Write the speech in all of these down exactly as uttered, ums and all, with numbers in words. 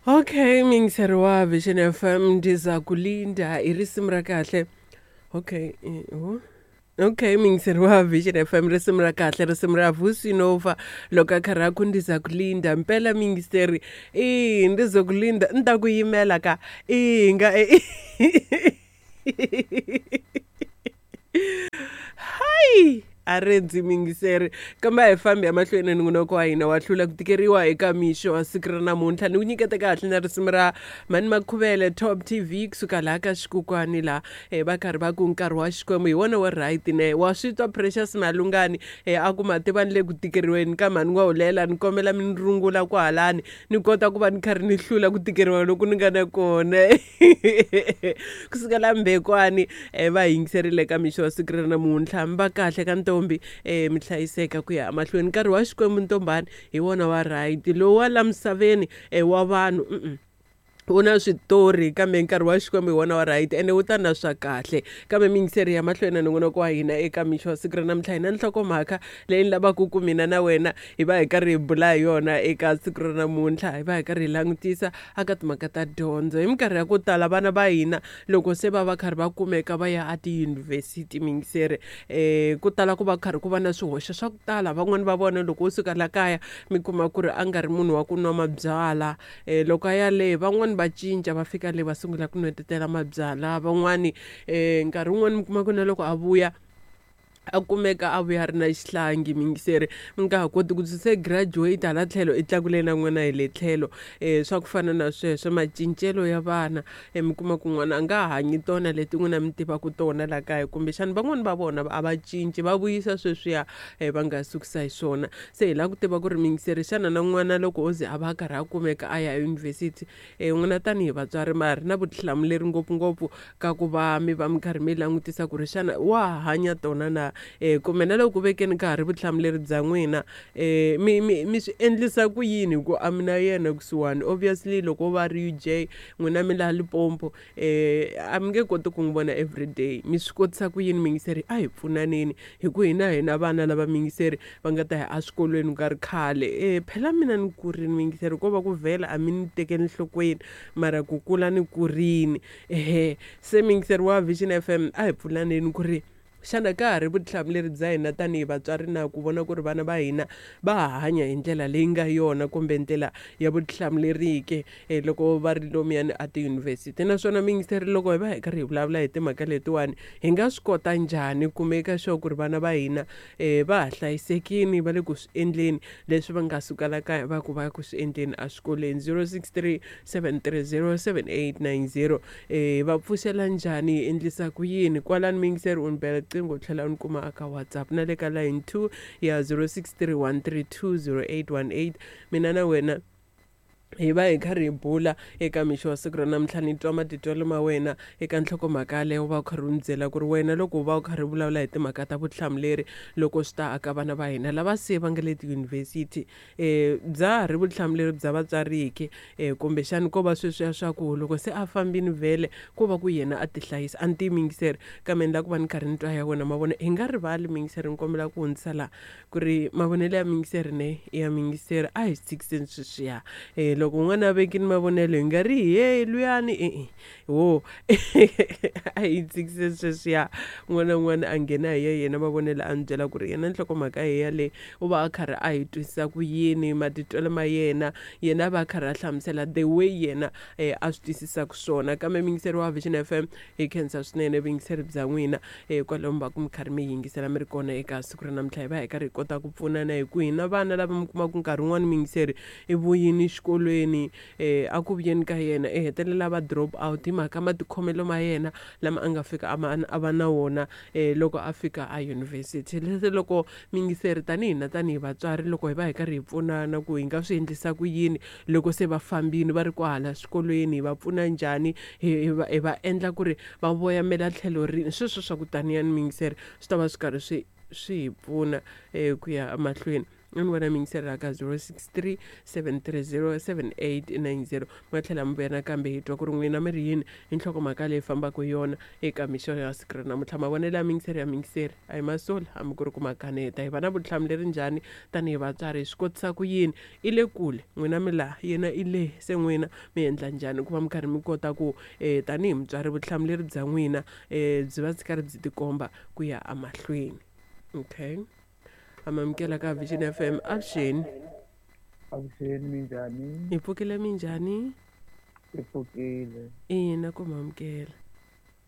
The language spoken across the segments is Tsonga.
Okay, miyingiseri wa Vision F M ndiza kulinda i risimu ra kahle. Okay, eh, okay, miyingiseri wa Vision F M risimu ra kahle, risimu ra Vusi Nova loko a karhi a ku ndiza kulinda. Mpela miyingiseri, i ndiza kulinda ni ta ku yimela ka i nga hayi a rindzi miyingiseri, kambe a hi fambi emahlweni nongonoko wa hina wa hlula ku tikeriwa eka mixo wa siku ra namuntlha. Ni ku nyiketa kahle na risimu ra Mani Makhuvele Top T V kusuka laha ka xikukwani laha eh, va karhi va ku nkarhi wa Xikwembu hi wona wa right ne. Wa swi twa Precious Malungani eh, a ku mativa ni le ku tikeriweni ka mhani wa hulela, ni kombela mi ni rungula kwahalani ni kota ku va ni karhi ni hlula ku tikeriwa loku ni nga na kona. Kusuka la Mbekwani eh, va yingiserile ka mixo wa siku ra namuntlha. Mi va kahle ka ntombi, eh, mi hlayiseka ku ya emahlweni. Nkarhi wa Xikwembu ntombani hi wona wa right, lowu wa la misaveni eh, wa vanhu mm-mm. Wu na switori, kambe nkarhi wa Xikwembu hi wona wa right ene wu ta na swa kahle. Kambe miyingiseri ya mahlweni na nongonoko wa hina eka mixo wa siku ra namuntlha, hi na nhlokomhaka leyi ni lavaka ku mina na wena hi va hi karhi hi bula hi yona eka siku ra namuntlha. Hi va hi karhi hi langutisa aka timhaka ta dyondzo. Hi minkarhi ya ku tala vana va hina loko se va va karhi va kumeka va ya etiyunivhesiti miyingiseri, eh, ku tala ku va karhi ku va na swihoxo swa ku tala. Van'wani va vona loko wo suka la kaya mi kuma ku ri a nga ri munhu wa ku nwa mabyalwa, eh, loko a ya le van'wani va cinca va fika le va sungula ku nwetetela mabyalwa. Van'wani eh, nkarhi wun'wani mi kuma ku na loko a vuya a kumeka a vuya a ri na xihlangi miyingiseri, mi nga ha koti ku se graduate hala tlhelo i tlakule na n'wana hi le tlhelo. Eh, swa ku fana na sweswo macincelo ya vana, eh, mi kuma ku n'wana a nga hanyi tona leti n'wina mi tivaka tona la kaya, kumbexana van'wani va vona a va cinci va vuyisa sweswiya, eh, va nga sukisa hi swona. Se hi lava ku tiva ku ri miyingiseri, xana na n'wana loko o ze a va a karhi a kumeka a ya eyunivhesiti, eh, n'wina tanihi vatswari ma ri na vutihlamuleri ngopfungopfu ka ku va mi va mi karhi mi langutisa ku ri xana wa hanya tona na, eh, kumbe na loko ku vekeni ka ha ri vutihlamuleri bya n'wina, eh, mi, mi, mi swi endlisa ku yini hi ku a mi na yena kusuhani. Obviously loko va ri U J n'wina mi laha Limpopo, eh, a mi nge koti ku n'wi vona everyday. Mi swi kotisa ku yini miyingiseri? A hi pfunaneni hi ku hina hina vana lava miyingiseri va nga ta ya eswikolweni ku nga ri khale. Eh, phela mina ni kurini miyingiseri, ko va ku vhela a mi ni tekeli enhlokweni, mara ku kula ni kurini. Ehe, se miyingiseri wa Vision F M a hi pfunaneni ku ri xana ka ha ri vutihlamuleri bya hina tanihi vatswari na ku vona ku ri vana va hina va ha hanya hi ndlela leyi nga yona kumbe ndlela ya vutihlamuleriki, eh, loko va ri lomuyani a tiyunivhesiti. Naswona miyingiseri, loko hi va hi karhi hi vulavula hi timhaka letiwani, hi nga swi kota njhani ku make sure ku ri vana va hina, eh, va ha hlayisekile, va le ku swi endleni leswi va nga suka la kaya va ku va ya ku swi endleni eswikolweni. zero six three seven three zero seven eight nine zero. Eh, va pfuxela njhani, hi endlisa ku yini? Kwalani miyingiseri u ni bela riqingho u tlhela u ni kuma aka WhatsApp na le ka line two ya zero six three one three two zero eight one eight. Mina na wena hi va hi karhi hi bula eka mixo wa siku ra namuntlha, ni twa matitwelo ma wena eka nhlokomhaka yaleyo, u va u karhi u ni byela ku ri wena loko u va u karhi u vulavula hi timhaka ta vutihlamuleri loko swi ta aka vana va hina lava se va nga le tiyunivhesiti, eh, bya ha ri vutihlamuleri bya vatswari ke, eh, kumbexani ko va sweswiya swa ku loko se a fambini vhele ko va ku yena a tihlayisa. A ni tivi miyingiseri, kambe ni lava ku va ni karhi ni twa ya wena mavonelo. Hi nga rivali miyingiseri, ni kombela ku hundzisa laha ku ri mavonelo ya miyingiseri ne ya miyingiseri a hi tshikiseni sweswiya. Eh, loko un'wana a vekile mavonelo hi nga ri he luyani, e-e, wo. A hi tshikise sweswiya, un'wana na un'wana a nghena hi ya yena mavonelo a ni byela ku ri yena nhlokomhaka hi yaleyo u va a karhi a hi twisisa ku yini matitwelo ma yena, yena a va a karhi a hlamusela the way yena, eh, a swi twisisaka swona. Kambe miyingiseri wa Vision F M, hi khensa swinene vuyingiseri bya n'wina, eh, kwalomu va ku mi karhi mi yingisela mi ri kona eka siku ra namuntlha. Hi va hi karhi hi kota ku pfunana hi ku hina vana lava mi kumaka nkarhi wun'wani miyingiseri i vuyini xikolweni, eh, a ku vuyeni ka yena i hetelela va drop out hi mhaka matikhomelo ma yena lama a nga fika a ma, a va na wona, eh, loko a fika a yunivhesiti. Leswi loko miyingiseri tanihi na tanihi vatswari loko hi va hi karhi hi pfunana ku hi nga swi endlisa ku yini loko se va fambini va ri kwahala swikolweni, hi va pfuna njhani, hi, hi va, hi va endla ku ri va voyamela tlhelo rini, sweswo swa ku taniya ni miyingiseri swi ta va swi karhi swi, swi hi pfuna, eh, ku ya emahlweni. Ni vona miyingiseri la ka zero six three seven three zero seven eight nine zero. Mi nga tlhela mi vuya nakambe hi twa ku ri n'wina mi ri yini hi nhlokomhaka leyi fambaka hi yona eka mixo ya siku ra namuntlha. Mavonelo ya miyingiseri ya miyingiseri a hi masoli hambi ku ri ku makaneta. Hi va na vutihlamuleri njhani tanihi vatswari? Hi swi kotisa ku yini? I le kule n'wina mi laha, yena i le, se n'wina mi endla njhani ku va mi karhi mi kota ku um tanihi mutswari vutihlamuleri bya n'wina um byi va byi karhi byi tikomba ku ya emahlweni. Okay, amamukela ka Vision F M. Avuxeni. Avuxeni, minjhani? Hi pfukile, minjhani? Hi pfukile. Ina, ku mamukela.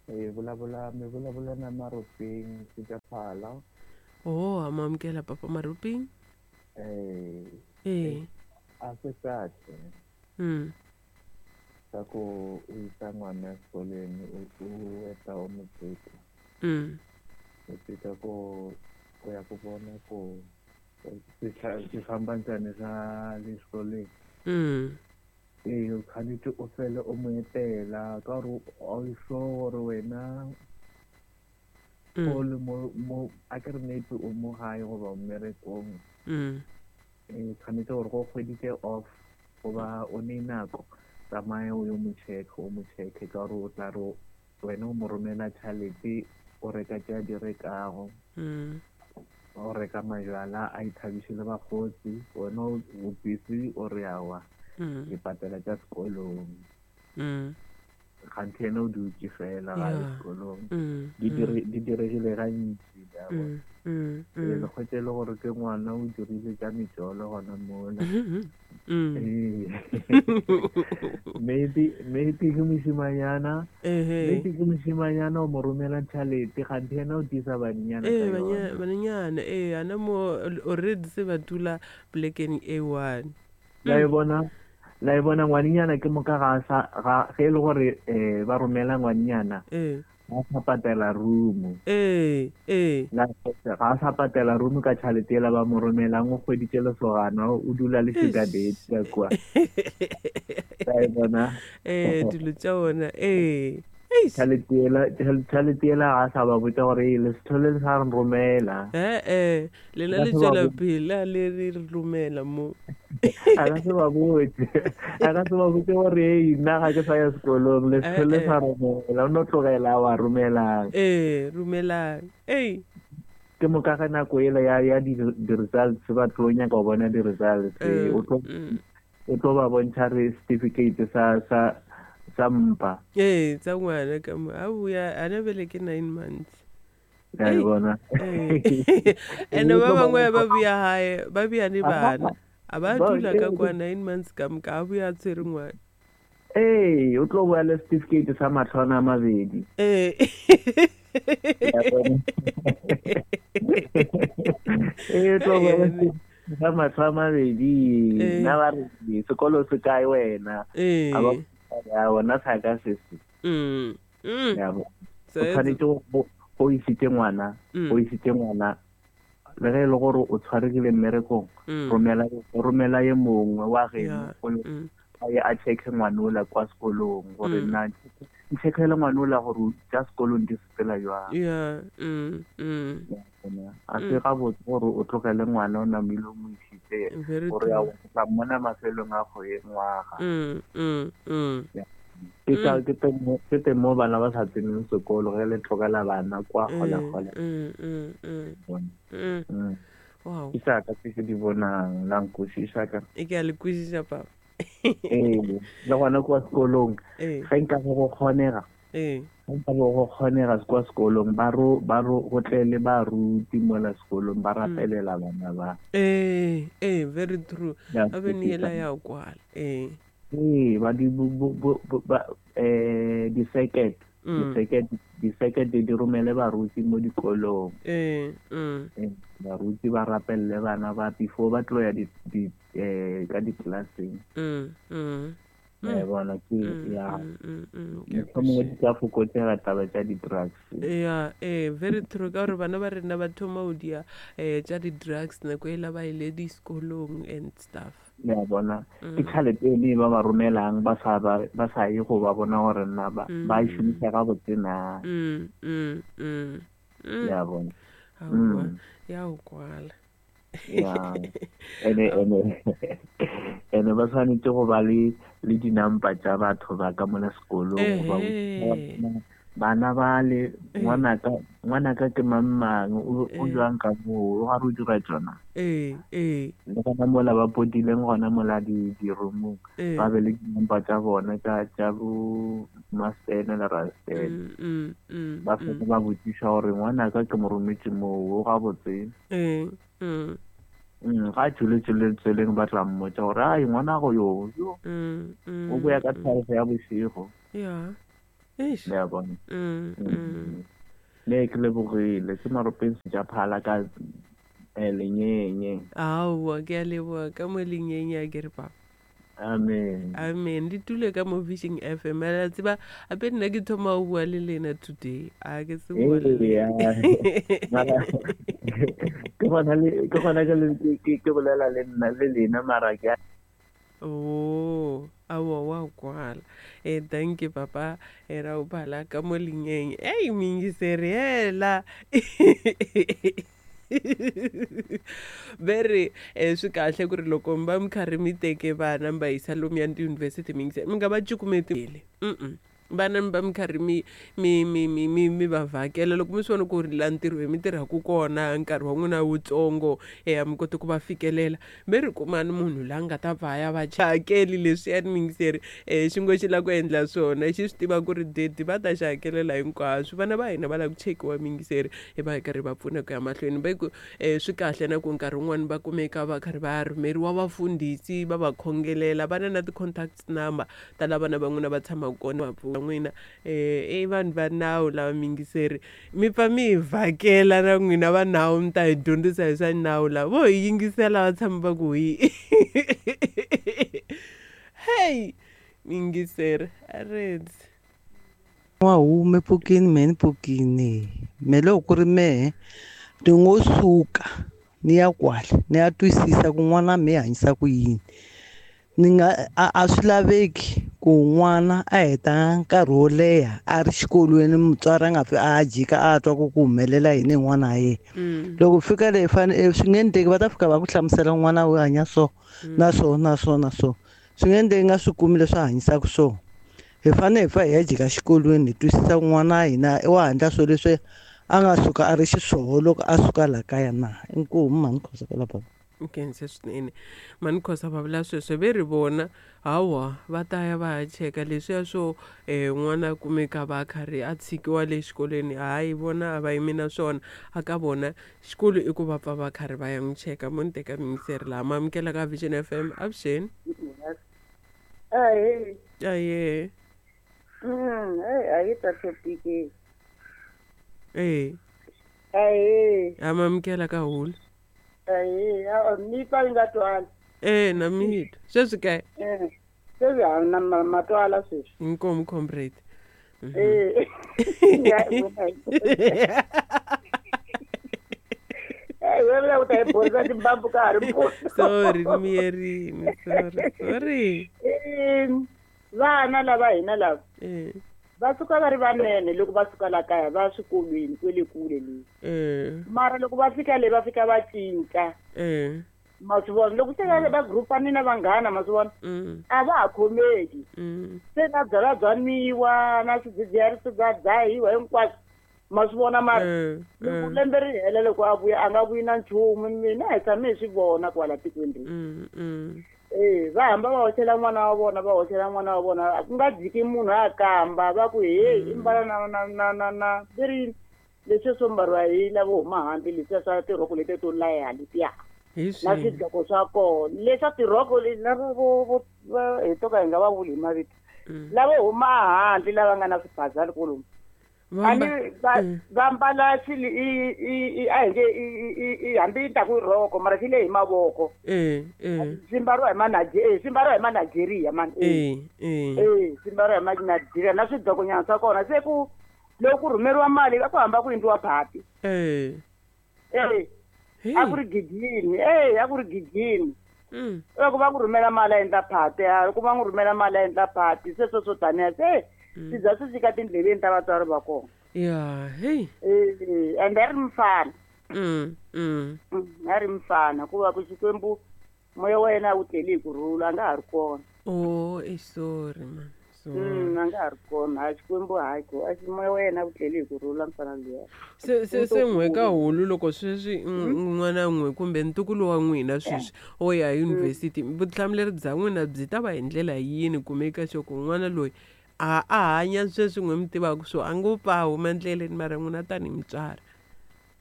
Hi vulavula, mi vulavula na Maruping Sitaphala. Oh, amamukela papa Maruping. Eh. Eh. A swi kahle. Mm. Swa ku u yisa n'wana exikolweni u u heta u n'wi tshika. Mm. U tshika ku ku ya ku vona ku swi swi famba njhani swa le xikolweni. Mm. E u tshwanetse o fele o mo etela ka gore a o sure gore wena Mm. o le mo mo a ke re maybe o mo gae goba mmerekong. Mm. E tshwanetse gore go kgweditse off goba o ne nako tsamaya o yo mo check o mo check ka gore o tla re wena o mo romela tšhelete o reka tše a di rekago. Mm. O reka majwala a ithabiše le bakgotsi, wena o busy o re awa Mm. ke patela tša sekolong. Mm. Kganthe yena o dutše fela ga ye Yeah. sekolong. Mm. Di Mm. dire- di diregile gantši, ya bona. Mm. Mm. E Mm. le kgwetše le gore ke ngwana o dirile tša metšolo gona mola. Mm. Ee. Maybe maybe ke mošimanyana, Ehe. maybe ke mošimanyana o mo romela tšhelete kganthe yena o tiisa banenyana Eh, ka banya- yona. banenyana, eh, ana mo already se ba dula polekeng e one. La e bona, la e bona ngwanenyana ke moka ga sa ga ge e le gore eh ba romela ngwanenyana Eh. ga sa patela room. Eh, eh. La ga sa patela room ka tšhelete ela ba mo romelang, o kgweditše lesogana o dula le sugar daddy ka kwa. La e bona. Eh, dilo tša ona, eh. Eish. Tšhelete ela, tšhelete ela ga sa ba botša gore le se tlhole le sa re romela. Eh, eh, lena Ba le se ba tšwela bo- pele a le re romela mo. A ka se ba botse, a ka se ba botse gore ei nna ga ke sa ya sekolong le se Eh, tlhole eh. sa romela, o no tlogela wa romelang. Eh, romelang. Ei. Ke moka ge nako ela ya ya di di-results ba tlo nyaka go bona di-results, Eh, o tlo mm. o tlo ba bontšha re certificate sa sa sa mpa. Eh, tsa ngwana ka mo. A boya ana bele ke nine months. La e Ei. bona. Eh. Ene O ba tlo ba bangwe ba bontšha- boya hae, ba boya le bana. A ba Ba- dula ka eh, kwa nine months ka moka, a boya a tshwere ngwana. Ee, o tlo boya le certificate sa matlhwana a mabedi. Eh. Ya bona. Ee, o tlo boya le certificate sa matlho a mabedi. Eh. Nna ba re sekolo se kae wena? Eh. A ba ya bona sa ka se se. Mm. Mm. Ya bo. So O tshwanetse go go isitse ngwana, Mm. o isitse ngwana le ge e le gore o tshwaregile mmerekong, Mm. romela romela ye mongwe wa geno Yeah. o yo- Mm. a ye a check-e ngwana ola kwa sekolong gore Mm. nna ncheckele ngwana ola gore tša sekolong di sepela jwang. Yeah. Mm. Mm. A se gabotse gore o tlogele ngwana o namile o mo isitse Very gore ya true. o tla mmona mafelong a kgwe ngwaga. Mm. Mm. Mm. Ke ka ke teng mo ke teng mo bana ba sa tseneng sekolo ge le tlogela bana kwa Mm. kgole-kgole. Mm. Mm. Mm. Mm. Mm. Wow. Ke sa ka tse ke di bonang la nkwešiša ka. E ke a le kwešiša papa. Ee, le gona kwa sekolong Eh. ge nka go kgonega, Eh. ge nka bo go kgonega kwa sekolong ba ro ba ro go tle le baruti mola sekolong ba rapelela bana ba. Eh, eh, very true. Ya, A be ne ela ya kwala. Eh. Ee, ba di bo bo bo ba eh di-circuit, Mm. di-circuit, di-circuit di romele baruti mo dikolong. Eh. Mm. Eh, baruti ba rapelele bana ba before ba tlo ya di di eh ka di-classeng. Mm. Mm. Ya bona ke Mm, ya mm, mm, mm, ke a mohlomongwe kwešiša. di ka fokotsega taba tša di-drugs. Yeah, eh, very true. Ka gore bana ba rena ba thoma go dia eh tša di-drugs nako e la ba ile disekolong and stuff. Ya bona Mm. ke tšhelete ene ba ba romelang ba sa ba ba sa ye go ba bona gore nna ba ba e Mm. šomiša gabotse na. Mm, mm, mm, mm. Ya bona. Aowa, Mm. ya o kwala. Ya, ene ene ene ba tshwanetse go ba le le dinampa tša batho ba ka mola sekolong goba Ehe. bana ba le ngwanaka ngwanaka ke mang mang o o Eh. jwang ka moo o gare o dira tsona. Ee, ee. Le gona mola ba potileng gona mola di dirumong Ee. ba be le dinampa tša bona tša tša bo mastene le rastene. Mm, mm, mm, Ba mm. fele ba botšiša gore ngwanaka ke mo rometše moo o gabotse. Ee, mm. Mm, ga tšwele tšwele tseleng ba tla mmotša gore ai ngwanago yo yo Mm, mm, o boya ka mm. twelve ya bošego. Ya. Eish. Le a bona. Mm, mm. Mm. Ne ke lebogile ke maropeng tša phala ka eh, lenyenye. Aowa, ke a leboga ka mo lenyenye a ke re papa. Amen. Amen. Le tule ka mo Vision F M. A la tseba ape nna ke thoma ho bua le lena today. A ke se bua le Ee, lena. ya. Mara ke gona le ke gona ke le ke ke bolela le nna le lena mara ke Oh, aowa wa kwala. Eh, thank you papa. Eh, ra o phala ka mo lenyenye. Ei, mingiseri hela. Ve ri eh, swi kahle ku ri loko mi va mi karhi mi teke vana mi va yisa lomuya tiyunivhesiti mi mi nga va cukumeti mm vana mi va mi karhi mi mi mi mi mi mi va vhakela loko mi swi vona ku ri laha ntirhweni mi tirhaka kona nkarhi wa n'wina wutsongo e a mi koti ku va fikelela mi ri kumani munhu la nga ta pfa ya va hakeli leswiyani mingiseri um xi ngo xi lava ku endla swona xi swi tiva ku ri dedi va ta xi hakelela hinkwaswo vana va hina va lava ku chekiwa mingiseri hi va hi karhi va pfuna ku ya mahlweni va ku um swi kahle na ku nkarhi wun'wani va kumeka va karhi va rhumeriwa vafundhisi va va khongelela va na na ti-contacts number ta la vana va n'wina va tshamaka kona va pfuna n'wina eh i vanhu va nawu lava mingiseri mi pfa mi hi vhakela na n'wina va nawu mi ta hi dyondzisa hi swa nawu lava vo hi yingisela va tshama va ku hi hey mingiseri a rendzi Wa hume pfukini mehe ni pfukini me loko ku ri mehe ni ngo suka ni ya kwale ni ya twisisa ku n'wana mehe hanyisa ku yini ni nga a a swi laveki ku n'wana a heta nkarhi wo leha a ri xikolweni mutswari a nga pfi a jika a twa ku ku humelela yini hi n'wana wa yena. Loko fika le fane swi nge endleki va ta fika va ku hlamusela n'wana u hanya so na so na so na so swi nge endleki nga swi kumi leswi a hanyisaka swona. Hi fanele hi pfa hi ya jika xikolweni hi twisisa ku n'wana wa hina wa endla swilo leswi a nga suka a ri xiswona loko a suka laha kaya na. Inkomu mhani Khosa kwala bava. Nkhense swinene mhani Khosa va vula sweswo ve ri vona hawa va ta ya va ya cheka leswiya swo um n'wana a kumeka va karhi a tshikiwa le xikolweni hayi vona a va yimi na swona a ka vona xikolo i ku va pfa va karhi va ya n'wi cheka mo ni teka mingiseri laha ma amukela ka Vision F M avuxeni. Ahee. Aye. Mm, hey, a yi ta topic. Eh. Ahee. Amamukela ka hulu. Ahee, a mi twa yi nga twali. Eh, na mi twa. Sweswi ke? Eh. Sweswi a na matwala sweswi. Inkomu comrade. Eh. Hey, wewe u ta hi borisa timbambu ka ha ri mpfula. Sorry, ni miyerini. Sorry, sorry. Eh, vana lava hina lava. Eh. Va suka va ri vanene loko va suka la kaya va swikolweni kwele kule le. Eh. Mara loko va fika le va fika va cinca. Eh. Ma swi vona loko se va va groupani na vanghana ma swi vona. Mm. A va ha khomeki. Mm. Se na byalwa bya nwiwa na swidzidziharisi bya dzahiwa hinkwaswo. Ma swi vona mara loko lembe ri hela loko a vuya a nga vuyi na nchumu mina hi tshame hi swi vona kwala tikweni leri. Mm, mm. Eh, va hamba va hoxela n'wana wa vona va hoxela n'wana wa vona ku nga jiki munhu a kamba va ku hey i mbala na na na na na leri leswi swo mbariwa hi lavo huma handle leswiya swa tirhoko leti to laya letiya na swidloko swa kona leswa tirhoko lava vo vo hi to ka hi nga va vuli hi mavito lavo huma handle lava nga na swibazali kolomu ani va va mbala xili i i a hi nge i hambi yi ta ku rhoko mara xi le hi mavoko. Eh, eh. Swi mbariwa hi ma swi mbariwa hi ma-Nigeria mani. Eh, eh. Eh, swi mbariwa hi ma-Nigeria na swidlokonyana swa kona se ku loko ku rhumeriwa mali a ku hamba ku endliwa phati. Eh. Eh. A ku ri gigini eh a ku ri gigini. Mm. Loko va ku rhumela mali a endla phati loko va n'wi rhumela mali a endla phati se swo swo taniya se swi za swi fika tindleveni ta vatswari va kona. Ya, hey. Eh, and a ri mufana. Mm, mm. Mm, a ri mfana ku va ku Xikwembu moya wa yena a wu tleli hi ku rhula a nga ha ri kona. Oh, eh, sorry man. Sorry. Mm, a nga ha ri kona hayi Xikwembu hayi ko a xi moya wa yena a wu tleli hi ku rhula mfana luya. Se se se n'we ka hulu loko sweswi n'wana n'we kumbe ntukulu wa n'wina sweswi o ya yunivhesiti vutihlamuleri bya n'wina byi ta va hi ndlela yini ku make sure ku n'wana loyi a a hanya sweswi n'we mi tivaka swo a ngo pfa a huma endleleni mara n'wina tanihi mutswari.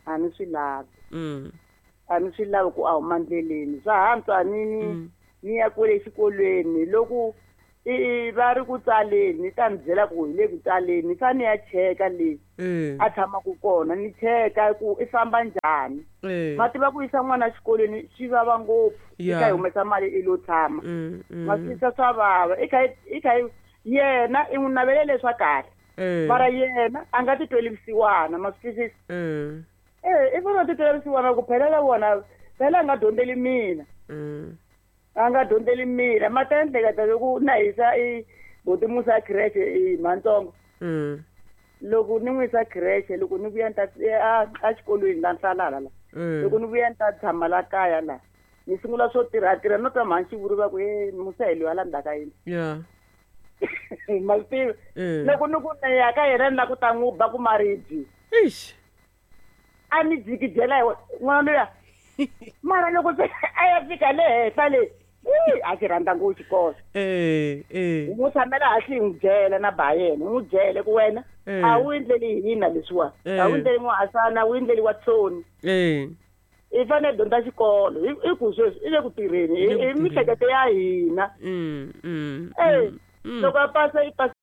A ni swi lavi. Mm. A ni swi lavi ku a huma ndleleni swa hantswa ni ni Mm. ni ya kwele xikolweni loko i i va ri ku tsaleni ni ta ni byela ku hi le ku tsaleni ni fane ni ya cheka le Eh. a tshamaka kona ni cheka ku i famba njhani. Eh. Ma tiva ku yisa n'wana exikolweni swi vava ngopfu i Ya. kha hi humesa mali i lo tshama. Mm, mm. Ma swi twisisa swa vava i kha i kha yena i n'wi navelele swa kahle Eh. mara yena a nga titweli vusiwana ma swi twisisa. Eh. Eh i fanele a titwela vusiwana ku phela la vona phela a nga dyondzeli mina. Mm. A nga dyondzeli mina ma ta endleka ta loko na hisa i buti Musa creche i Mhantsongo. Mm. Loko ni n'wi yisa creche loko ni vuya ni ta a a xikolweni la Nhlalala la. Eh. Loko ni vuya ni ta tshama la kaya la ni sungula swo tirha tirha no twa mhani xivuri va ku he Musa hi loyi a la ndzhaku ka yindlu. Ya. Ma swi tiva Eh. loko ni ku ni ya ka yena ni la ku ta n'wi ba ku maribye. Eish. A ni jikijela hi n'wana luya mara loko se a ya fika le henhla le ii, a xi rhandza ngopfu xikolo. Eh, eh. Hi n'wi tshamela hansi hi n'wi byela na ba yena hi n'wi byele ku wena Eh. a wu endleli hina leswiwa Eh. a wu endleli n'wahasana a wu endleli Watsoni. Eh. I fanele dyondza xikolo hi i ku sweswi i le ku tirheni I le ku hi tirheni. mihleketo ya hina. Mm, mm. Eh Mm. loko a pasa i pasa.